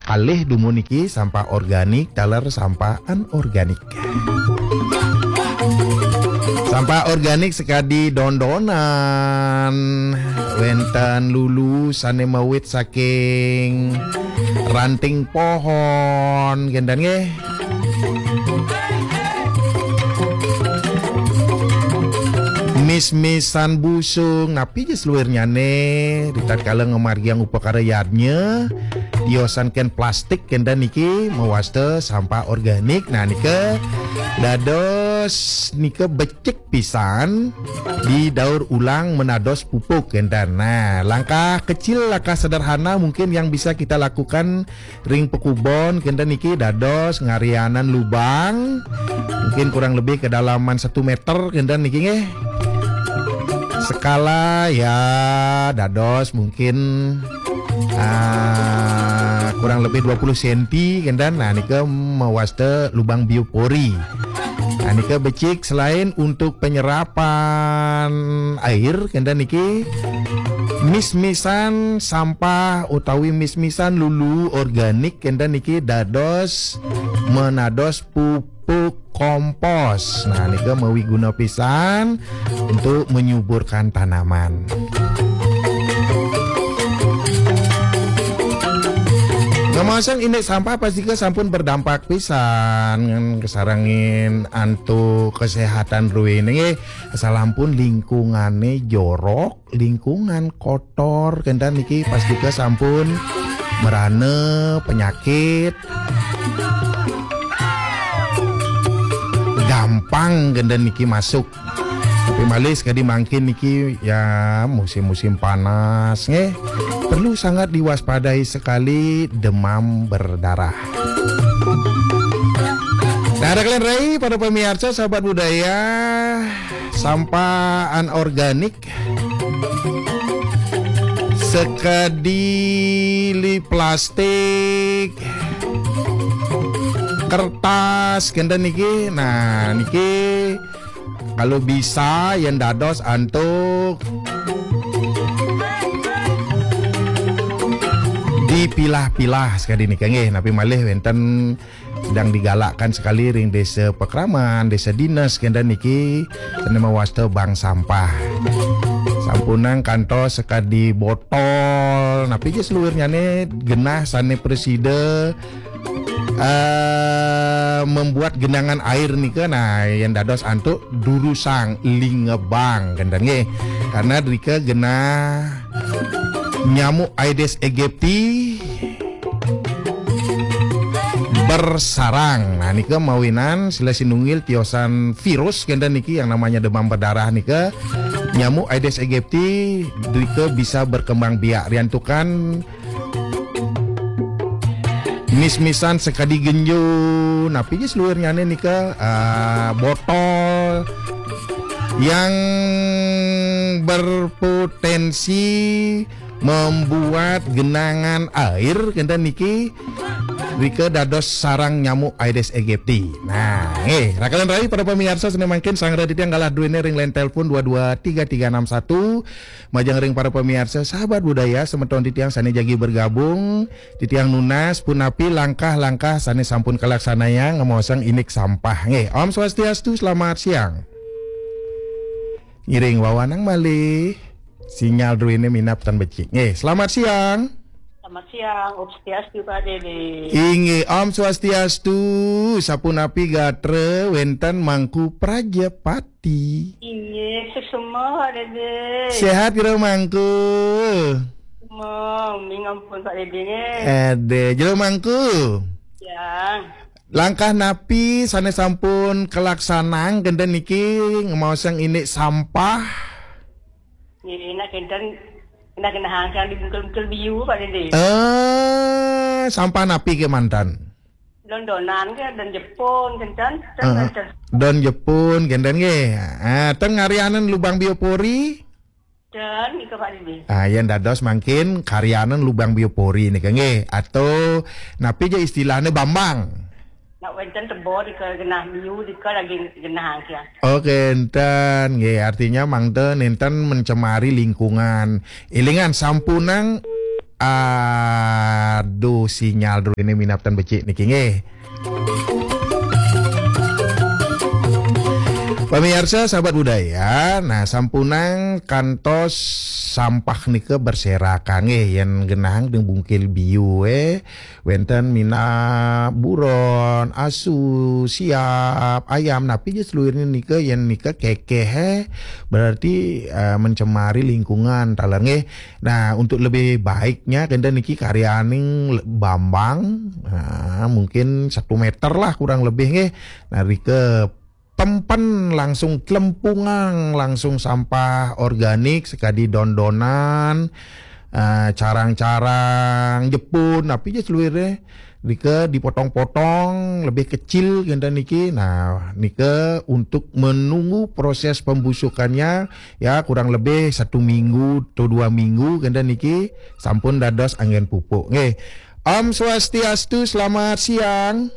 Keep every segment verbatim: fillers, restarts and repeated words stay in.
Alih dumun niki sampah organik taler sampah anorganik. Sampah organik sekadi dondonan, wenten lulu sane mawit saking ranting pohon, kenten nggih. Mis-misan busung, napi ja seluirnyane, ritatkala ngamargiang upakara yadnya, tiosan ken plastik kenten niki mawasta sampah organik. Nah, nika dados nika becik pisan didaur ulang menados pupuk kenten. Nah, langkah kecil, langkah sederhana mungkin yang bisa kita lakukan ring pakubon kenten niki dados ngarianan lubang, mungkin kurang lebih kedalaman satu meter kenten niki nggih. Sekala ya dados mungkin ah, kurang lebih dua puluh senti kenten. Nah, nika mawasta lubang biopori. Nah, nika becik selain untuk penyerapan air kenten niki, mis-misan sampah utawi mis-misan lulu organik kenten niki dados menados pupuk kompos. Nah, nika mawiguna pisan untuk menyuburkan tanaman. Ngemaosang indik sampah pastika sampun berdampak pisan kasarengin antuk kesehatan druene nggih. Asalampun lingkungane jorok, lingkungan kotor kenten niki pastika sampun merana penyakit gampang kenten niki masuk. Tapi malih sekadi mangkin niki ya musim-musim panas nggih. Perlu sangat diwaspadai sekali demam berdarah. Nah, ada kalian rai pada pemirsa sahabat budaya, sampah anorganik sekadi li plastik, kertas kenten niki. Nah, niki kalau bisa yen dados antuk dipilah-pilah sekadi nika nggih, napi malih wenten sedang digalakkan sekali ring desa Pakraman, desa dinas kenten niki sane mawasta bank sampah. Sampunang kantos sekadi botol, napi ja seluirnyane genah sane prasida eh, membuat genangan air nika, nah, yen dados antuk durusang lingebang kenten nggih. Karena drika genah nyamuk Aedes aegypti bersarang. Nah, nika mawinan sila sinunggil tiosan virus kenten niki yang namanya demam berdarah nika. Nyamuk Aedes aegypti drika bisa berkembang biak riantukan mis-misan sekadi genjo, napi ja seluirnyane nika, ah, botol yang berpotensi membuat genangan air kenten niki drika dados sarang nyamuk Aedes aegypti. Nah, eh, rakalan rai pada pemirsa sane mangkin sang raditya galah druene ring line telepon dua dua tiga tiga enam satu. Majeng ring para pemirsa, sahabat budaya, semeton titiang sane jagi bergabung, titiang nunas punapi langkah-langkah sane sampun kalaksanayang ngemaosang indik sampah. Nggih, Om Swastiastu, selamat siang. Ngiring wawanang malih. Sinyal druene minab tan becik. Nggih, selamat siang. Selamat siang, Om Swastiastu, Pak Dede. Inggih, Om Swastiastu. Sapunapi gatra wenten Mangku Prajapati? Inggih, suksma, Pak Dede. Sehat kira Mangku? Suksma, ming ampun, Pak Dede, nggih. Ade, jero Mangku. Ya. Langkah napi sane sampun kalaksanang kenten niki ngemaosang indik sampah? Nggih, nak kenten, nak kenten hangkang di bungkel-bungkel biu, Pak Dede. Eh, sampah napi kemanten? Don-donan ke, don Jepun, kenten, ten, Heeh. Kenten. Don Jepun, kenten nggih. Ah, ten ngarianan lubang biopori? Ten, nika Pak Dede. Ah, yen dados mangkin karianan lubang biopori nika nggih. Atau napi ja istilahnya Bambang? Nak wenten tebo dika genah biu, dika lagi genah angkian. Oke, enten nggih, artinya mangda nenten mencemari lingkungan. Ilingan sampunang Aduh, sinyal dulu ini minab tan becik niki nggih. Pemirsa, sahabat budaya, nah, sampunang kantos sampah nika berserakan nggih, yen genahang teng bungkil biu, eh, wenten minab buron, asu, siap, ayam, napi ja seluirnya nika, yen nika kekeh, eh, berarti, eh, mencemari lingkungan, taler nggih. Nah, untuk lebih baiknya kenten niki karyaning le-, Bambang, nah, mungkin satu meter lah kurang lebih nggih. Nah, rika pempen langsung kelempungang, langsung sampah organik, sekadi don-donan, eh, carang-carang, jepun, napi ja seluirnya. Rika dipotong-potong, lebih kecil kenten niki. Nah, nika untuk menunggu proses pembusukannya, ya, kurang lebih satu minggu atau dua minggu kenten niki, sampun dados anggen pupuk. Nggih. Om Swastiastu, selamat siang.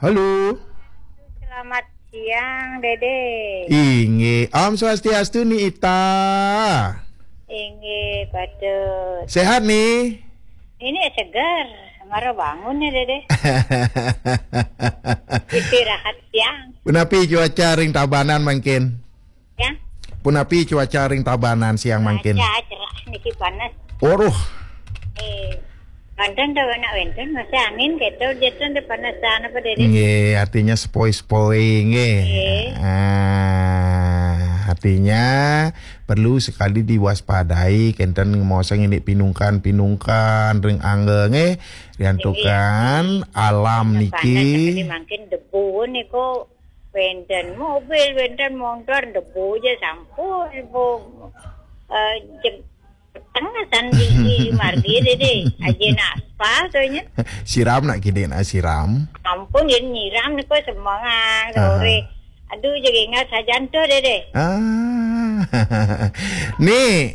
Halo. Selamat siang, Dede. Inggih. Om Swastiastu, Ni Ita. Inggih, patut. Sehat, Ni? Ini segar. Mara bangun ya, Dede. Istirahat siang. Punapi cuaca ring Tabanan mangkin? Ya. Punapi cuaca ring Tabanan siang mangkin? Cuaca cerah, niki panas. Waduh. Eh, banten dah anak wenten, masih angin, keto, jatuh, dah panas, sana apa, Dede? Nggih, artinya sepoi-sepoi, nggih. Nggih. Ah, artinya perlu sekali diwaspadai, kenten ngemaosang indik pinungkan-pinungkan ring angga, nggih. Riantukan alam niki. Panas, mangkin debu niku. Wenten mobil, wenten montor, debu ja sampun, debu, eh, jeg-, tengah san di, di margi, Dede. Ajin aspal tuh nya. Siram nak kini nak siram. Ampun, yen nyiram niku semengang sore. Aha. Aduh, jeg ingat sajan tuh, Dede. Ah. Ni,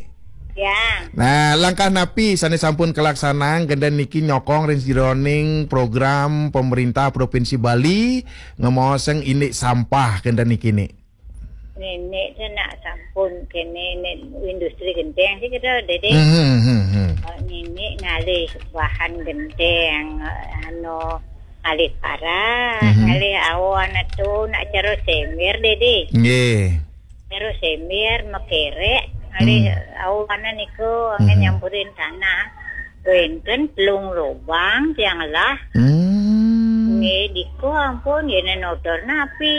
Ya. Nah, langkah napi sane sampun kalaksanang kenten niki nyokong ring jeroning program pemerintah Provinsi Bali ngemaosang indik sampah kenten niki, Ni? Nenek tu nak sampun kene, ne industri genteng sih kita, Dede. Hmm, hmm, hmm. Oh, nenek ngalih bahan genteng, anu, ngalih parah, mhm, ngalih awan tu nak cara semir, Dede. Nggih. Terus semir, mekerek, ngalih, hmm, awan niku, angin, hmm, nyampurin tanah. Wenten telung lubang tiang lah. Hmm. Nggih, diku ampun, yen notor napi,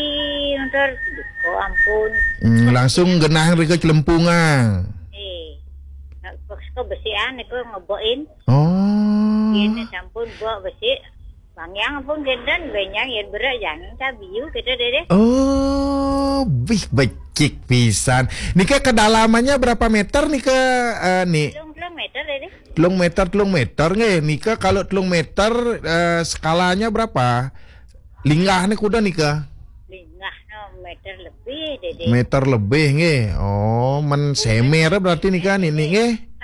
notor diku ampun. Hmm, langsung genah rika celempungang. Eh, kok besian niku ngebokin. Oh. Yen sampun bok besi, Bang, yang pun kenten, benyang yen berat, jangan tak biu kita, Dede. Oh, bih, becik pisan. Nika kedalamannya berapa meter nika, eh, Ni? Telung, telung meter, Dede. Telung meter, telung meter, nggih. Nika kalau telung meter, eh, skalanya berapa? Linggahnya kuda nika? Linggah, no, meter lebih, Dede. Meter lebih, nggih. Oh, men semer berarti nika, Ni, Ni, nggih.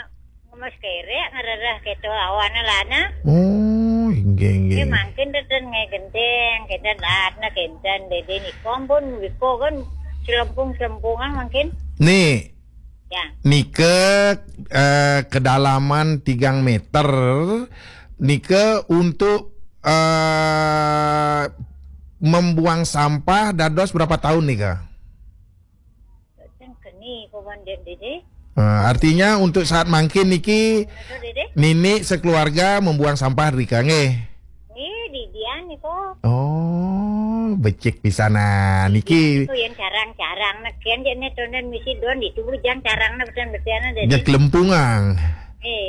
Ngemes kerek, ngerereh keto awane lana. Oh, inggih, inggih. Nggih, mangkin teten nggih genteng, kenten laatna kenten, Dede niku ampun, niku kan selempung-selempungan mangkin. Ni. Ya. Nika, eh, kedalaman tigang meter, nika untuk, eh, membuang sampah dados berapa tahun nika? Boten keni, pawan, Dede. Eh, artinya untuk saat mangkin niki, betul, Dede? Nini sekeluarga membuang sampah rika, nggih? Nggih, didian niku. Oh, becik pisanan niki. Niku yang carang-carang, neken jane tonden misi don, ditu bujang carangna, betul-betul, Dede. Nya kelempungang. Eh.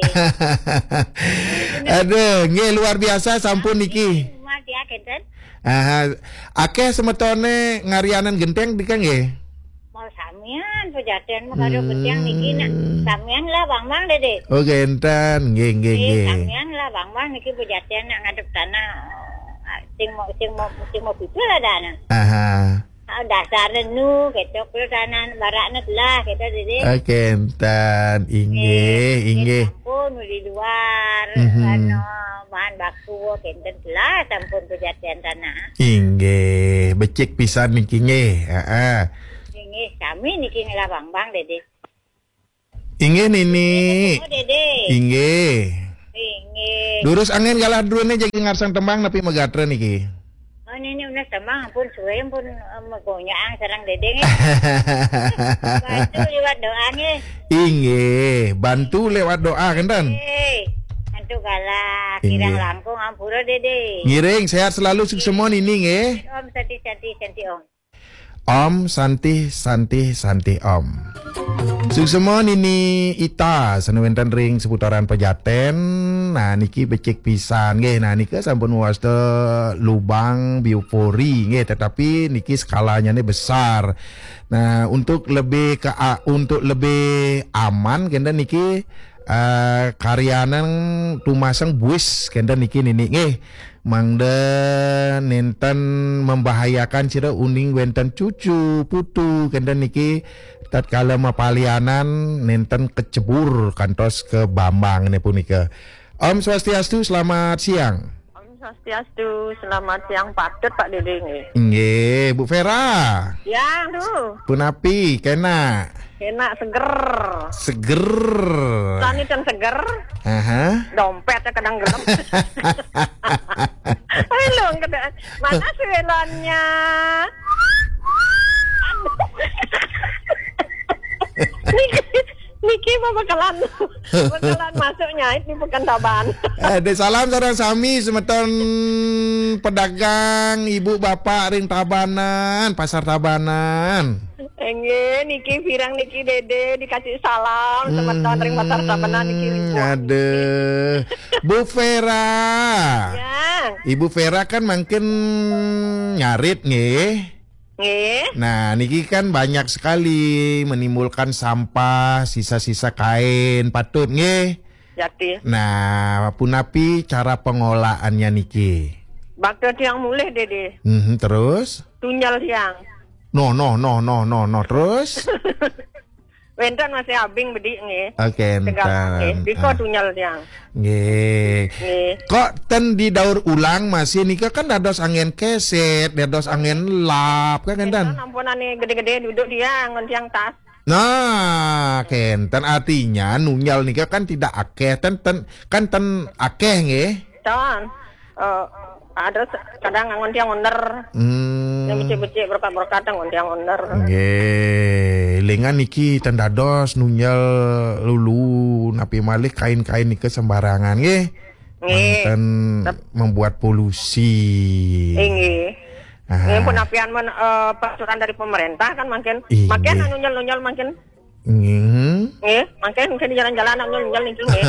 Aduh, nggih, luar biasa sampun niki. Rumah dia kenten. Aha, akeh semetone ngarianan genteng nika nggih? Mau samian pejaten mah kado genteng niki nak. Hmm. Samian lah, Bang, Bang, Dede. Oh, genten, nggih, nggih, eh, nggih. Samian lah, Bang, Bang, niki pejaten nak ngadep tanah. Ah, sing mau, sing mau, sing mau pipil ada anak. Aha. Ah, dasar nu, kecok lu tanah barakna telah, kita, Dede. Ah, kenten, inggih, eh, inggih. Sampun di luar, mhm, anu, bahan baku, kenten telah, sampun pejaten tanah. Inggih, becik pisan niki nggih. Heeh. Inggih, sami niki ngelah Bang, Bang, Dede. Inggih, Nini. Oh, Dede. Inggih. Inggih. Durus angin galah drone jagi ngarsang tembang napi magatra niki? Oh, Nini unas tembang, ampun suwe, ampun, eh, magonyaang sareng Dede nggih. Bantu liwat doa nggih. Inggih, bantu lewat doa kenten. Nggih. Bantu galah, kirang Inggih. Langkung ampura Dede. Ngiring, sehat selalu, suksema Nini nggih. Om Santi Santi Santi Om. Om Santi Santi Santi Om. Suksema Nini Ita sane wenten ring seputaran Pejaten. Nah, niki becik pisan nggih. Nah, nika sampun wasta lubang biopori nggih, tetapi niki skalanyane besar. Nah, untuk lebih ke a-, untuk lebih aman kenten niki, eh, karyanan tumaseng buis kenten niki Nini nggih. Mangda nenten membahayakan sira uning wenten cucu, putu, kenten niki tatkala mapalianan nenten kecebur kantos ke bambang ne punika. Om Swastiastu, selamat siang. Om Swastiastu, selamat siang. Patut Pak Dede nggih. Nggih, Bu Vera. Ya, tuh. Punapi, kena? Enak, seger. Seger. Tani ten seger. Aha. Dompetnya kadang gelem. Ayo, lo, mana sih welonnya? Aduh. Niki, niki apa bakalan, bakalan masuk nyait di Pekan Taban. Eh, dek salam sareng sami semeton pedagang, ibu bapak ring Tabanan, Pasar Tabanan. Enggih, niki pirang niki Dede dikasih salam semeton ring Pasar Tabanan niki. Hmm, aduh. Bu Vera. Ya. Ibu Vera kan mangkin ngarit nggih. Nggih. Nah, niki kan banyak sekali menimbulkan sampah, sisa-sisa kain, patut nggih. Jati. Nah, punapi cara pengolahannya niki? Bakta tiang mulih, Dede. Mhm, terus? Tunjel tiang. No, no, no, no, no, no, terus? Wenten masih abing bedik nggih. Oke, tegal nggih. Enten. Dika ah. Tunjel tiang. Nggih. Nggih. Kok ten didaur ulang masih nika kan dados angin keset, dados angin lap, kan kenten? Kenten ampunane gede-gede duduk dia ngon tiang tas. Nah, kenten artinya nunjel nika kan tidak akeh, ten, ten, kan ten akeh nggih. Ton. Eh, ada se-, kadang ngon tiang onder. Hmm. Yang becik-becik berkat-berkat ngon tiang onder. Nggih, lengan niki ten dados nunjel lulu napi malih kain-kain nika sembarangan nggih. Nggih. Manten tep- membuat polusi. Nggih. Aha. Nggih, pun apian men, eh, peraturan dari pemerintah kan makin, inggih, makin nunjel-nunjel makin. Nggih. Nggih, makin ke di jalan-jalan nunjel-nunjel niki nggih.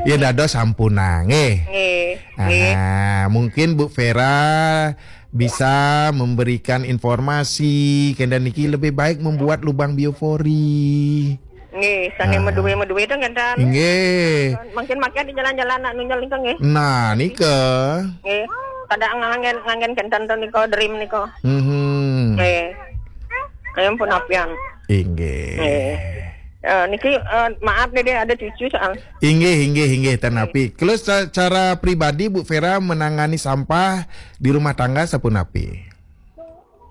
Ya dados sampunang nggih. Nggih. Nggih. Aha, mungkin Bu Vera bisa memberikan informasi, kenten niki lebih baik membuat lubang biopori. Nggih, sane ah. Medue-medue itu kenten. Nggih. Mungkin makin di jalan-jalan nak nunjel itu nggih. Nah, nika. Nggih. Kada nganggen, nganggen kenten to nika, dream nika. Mhm. Nggih. Ayo pun apian. Inggih. Nggih. Eh, niki, eh, maaf nih, dia ada cucu soal. Inggih, inggih, inggih, ten api. Terus ca-, cara pribadi Bu Vera menangani sampah di rumah tangga sapunapi?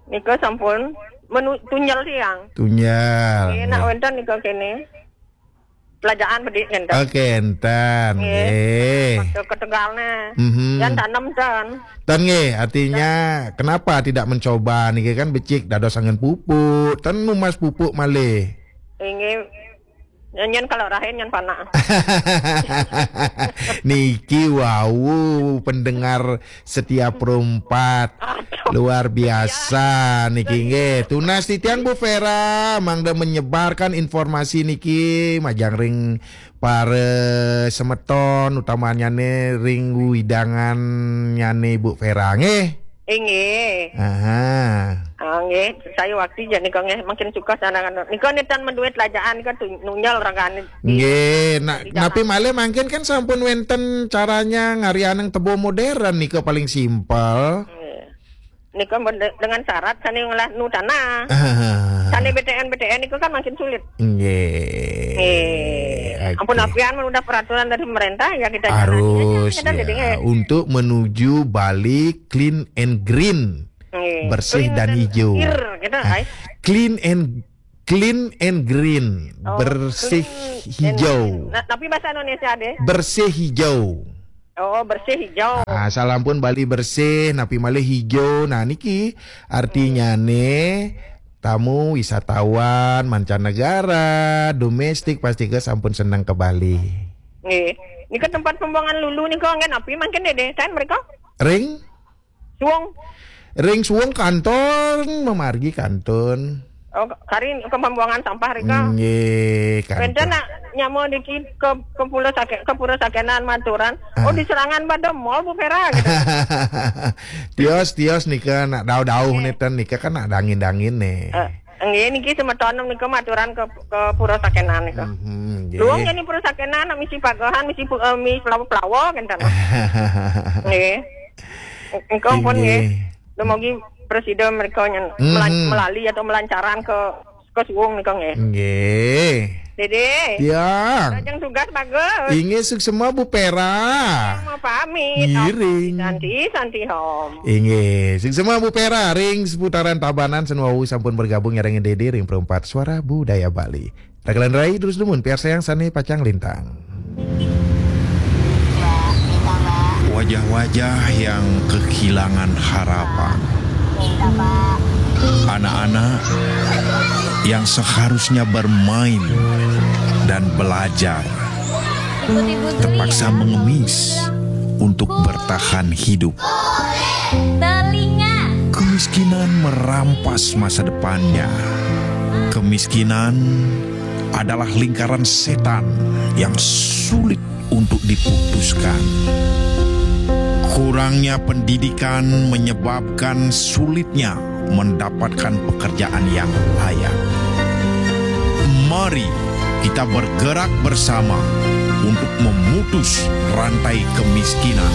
Nika sampun menu-, tunjel tiang. Tunjel. Nggih, nak nggih. Wenten nika kene. Pelajaan bedik enten. Oke, enten. Nggih. Nggih. Waktu ketegalne. Mhm. Yang tanam ten. Ten nggih, artinya kenapa tidak mencoba niki kan becik dados angin pupuk, ten numas pupuk malih. Inggih. Nyen kalau rahin nyen panak. Niki wau pendengar setia perempat. Aduh. Luar biasa niki nggih. Tunas titiang Bu Vera mangda menyebarkan informasi niki majeng ring para semeton utamanyane ring widanganyane Bu Vera nggih. Inggih. Aha. Ah, nggih, saya waktu jadi kok nggih makin suka sana kan. Nika nitan menduit lajaan nika tu-, nunjal ragane. Nggih, nak, di dalam. Napi malih mangkin kan sampun wenten caranya ngarianang tebo modern nika paling simpel. Nggih. Nika men-, dengan syarat sane ngolah nu tanah. Ah. Sane B T N, B T N nika kan makin sulit. Nggih. Nggih. Oke. Ampun apian men udah peraturan dari pemerintah ya kita jalani aja, harus kita ya, jadi nggih. Untuk menuju Bali clean and green. Nggih. Bersih clean dan dan hijau. Ir, gitu, ah, ai. Clean and Clean and green, oh, bersih clean hijau. Nah, tapi bahasa Indonesia deh. Bersih hijau. Oh, bersih hijau. Ah, salam pun Bali bersih, napi malih hijau. Nah, niki artinya nih tamu wisatawan mancanegara, domestik pasti ke sampun seneng ke Bali. Nggih. Nika tempat pembuangan lulu nika nggih napi mangkin deh, kan mereka? Ring? Suwung. Ring suwung kantun, memargi kantun. Oh, kari ke pembuangan sampah rika. Nggih, kantun. Wenten nak nyama diki ke, ke pulau Sake-, ke Pura Sakenan maturan. Oh, ah, diserangan pada mall Bu Pera gitu. Tios, tios nika nak dauh-dauh neten nika kan nak dangin-dangin nih. Eh, nggih niki semeton nika maturan ke, ke Pura Sakenan nika. Mhm, nggih. Luwung jani Pura Sakenan nak misi pagehan, misi pu-, eh, misi pelawa-pelawa kenten. Nggih. Engko pun nggih. Dumugi presida mereka nyen melan-, melali atau melancaran ke, ke suwung nika nggih. Nggih. Dede. Ya. Lajeng tugas bagus. Inggih suksema Bu Pera. Mau pamit. Ngiring. Santi, santi hom. Inggih, suksema Bu Pera ring seputaran Tabanan senuawu sampun bergabung nyarengin Dede ring Perempat Suara Budaya Bali. Ragalan rai terus dumun piarsayang sane pacang lintang. Wajah-wajah yang kehilangan harapan. Anak-anak yang seharusnya bermain dan belajar terpaksa mengemis untuk bertahan hidup. Kemiskinan merampas masa depannya. Kemiskinan adalah lingkaran setan yang sulit untuk diputuskan. Kurangnya pendidikan menyebabkan sulitnya mendapatkan pekerjaan yang layak. Mari kita bergerak bersama untuk memutus rantai kemiskinan.